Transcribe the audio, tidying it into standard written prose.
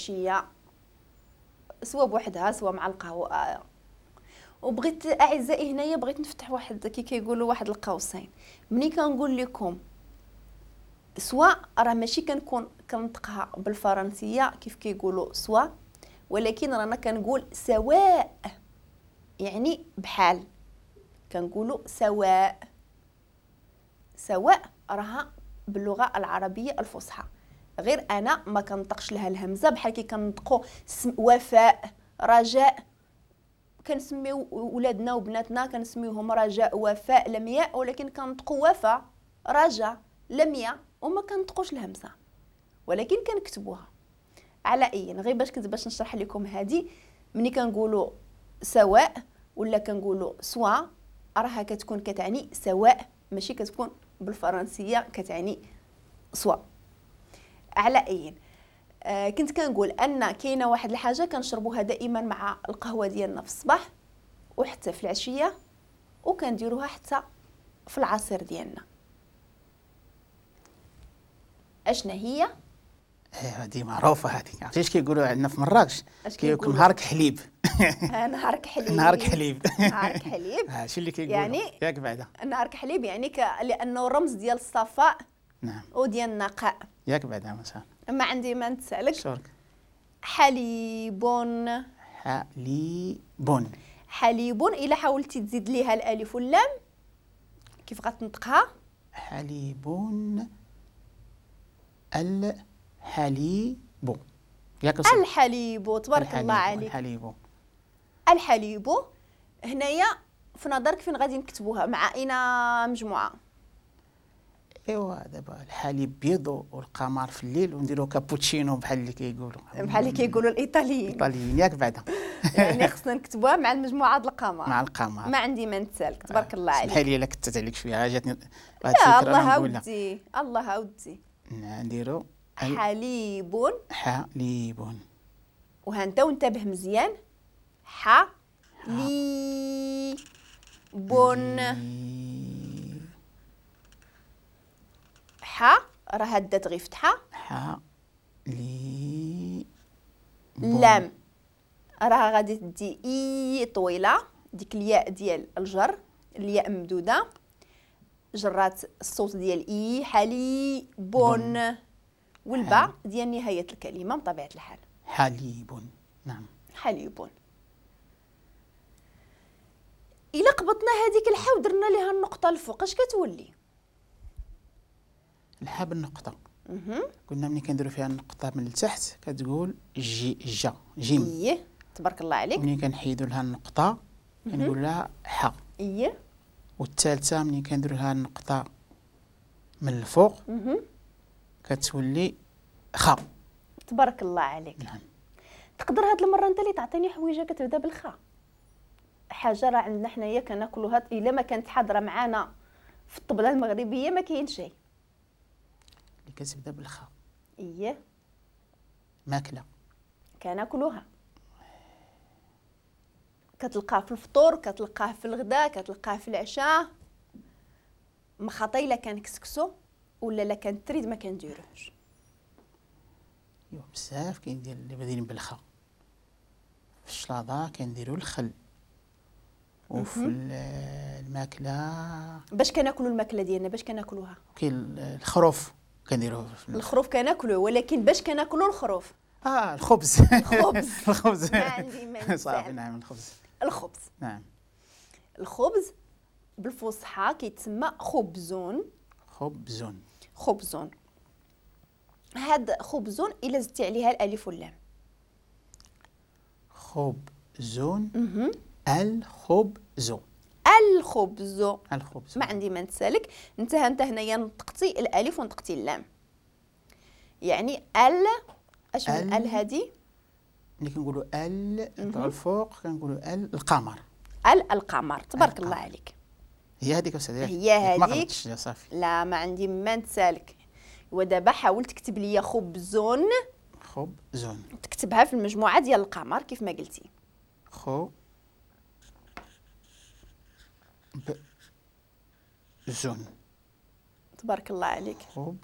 العشية، سواء بوحدها سواء مع القهوة. وبغيت اعزائي هنايا بغيت نفتح واحد كي كيقولوا واحد القوسين. ملي كنقول لكم soit راه ماشي كنكون كنطقها بالفرنسيه كيف كيقولوا soit، ولكن رانا كنقول سواء، يعني بحال كنقولوا سواء. سواء راها باللغة العربية الفصحى، غير انا ما كنطقش لها الهمزة بحال كي كنطقوا وفاء رجاء. كنسميو ولادنا وبناتنا كنسميوهم رجاء وفاء لمياء، ولكن كنطقوا وفاء رجاء لمياء وما كنطقوش الهمزة، ولكن كنكتبوها. على اي غير باش كنت باش نشرح لكم هذه، ملي كنقولوا سواء ولا كنقولوا soit راها كتكون كتعني سواء، ماشي كتكون بالفرنسيه كتعني soit. على اي كنت كنقول ان كاينه واحد الحاجة كنشربوها دائما مع القهوة ديالنا في الصباح وحتى في العشية، وكنديروها حتى في العصير ديالنا. اشنا هي؟ هذه معروفة هذه، عرفتي اش كيقولوا عندنا في مراكش؟ كيقولوا نهارك حليب. نهارك حليب، نهارك حليب، نهارك حليب. هادشي اللي كيقولوا يعني ياك بعدا نهارك حليب، يعني لانه رمز ديال الصفاء، نعم، وديال النقاء، ياك بعدا مثلا. ما عندي ما نتسالك. شكرا. حليب، حليب، حليب. الا حاولتي تزيد ليها الالف واللام كيف غتنطقها؟ حليب، الحليب، ياك الحليب. تبارك الله عليك. الحليب، الحليب. هنايا في نظرك فين غادي نكتبوها؟ مع اين مجموعة؟ ايوا دابا الحليب بيض والقمر في الليل، ونديرو كابوتشينو بحال اللي كيقولوا، بحال اللي كيقولوا الايطاليين. الايطاليين ياك بعدا. يعني خصنا نكتبوها مع المجموعة ديال القمر، مع القمر. ما عندي ما نتسالك. تبارك الله عليك. سمحي لي الا كتت عليك شوية، جاتني واحد الفكرة. الله ودي، الله ودي. نديرو حليب، حليب. وها انت وانتبه مزيان، ح لي بون. ح راه دات غير فتحه، ح لي لام راه غادي تدي اي طويلة، ديك الياء ديال الجر، الياء ممدوده جرات الصوت ديال اي، حلي بون، والباء ديال نهاية الكلمة بطبيعة الحال. حليب، نعم، حليب. الا قبطنا هذيك الحا ودرنا ليها النقطة الفوق اش كتولي؟ الحا بالنقطة. قلنا ملي كنديروا فيها النقطة من التحت كتقول جي، جا، جيم. ايه تبارك الله عليك. ملي كنحيدوا لها النقطة كنقول لها ح. ايه. والثالثة ملي كنديروا لها النقطة من الفوق كتولي خا. تبارك الله عليك. نعم. تقدر هاد المرة انت اللي تعطيني حويجه كتبدا بالخا، حاجة راه عندنا حنايا كناكلوها، الا ما كانت حاضره معانا في الطبلة المغربية ما كاين شيء. اللي كتبدا بالخا. ايه. ماكله كناكلوها، كتلقاه في الفطور، كتلقاه في الغداء، كتلقاه في العشاء. مخاطي الا كان كسكسو ولا لا كان تريد ما كنديروهش. ايوا بزاف كاين ديال اللي بادين بالخا. في الشلاضه كنديروا الخل، وفي الماكلة باش كناكلوا الماكلة ديالنا باش كناكلوها كاين الخروف كنديروه. الخروف كناكلوه، ولكن باش كناكلوا الخروف؟ الخبز. الخبز، الخبز. ما عندي ما صافي. نعم، الخبز. الخبز، نعم. الخبز بالفصحى كيتسمى خبزون. خبزون، خبزون. هاد خبزون الا زدتي عليها الالف واللام. خبزون، الخبز، الخبز، الخبز. ما عندي ما نتسالك. انت هنايا نطقتي الالف ونطقتي اللام، يعني ال، اش من ال هادي؟ ملي كنقولوا ال نطلعوا الفوق كنقولوا ال القمر. ال القمر. تبارك الله عليك. هي هذيك استاذ، هي هذيك. ما غلطتش صافي. لا ما عندي ما نتسالك. ودابا حاول تكتب لي خبزون. خبزون تكتبها في المجموعة ديال القمر كيف ما قلتي. خو ب زون. تبارك الله عليك. خب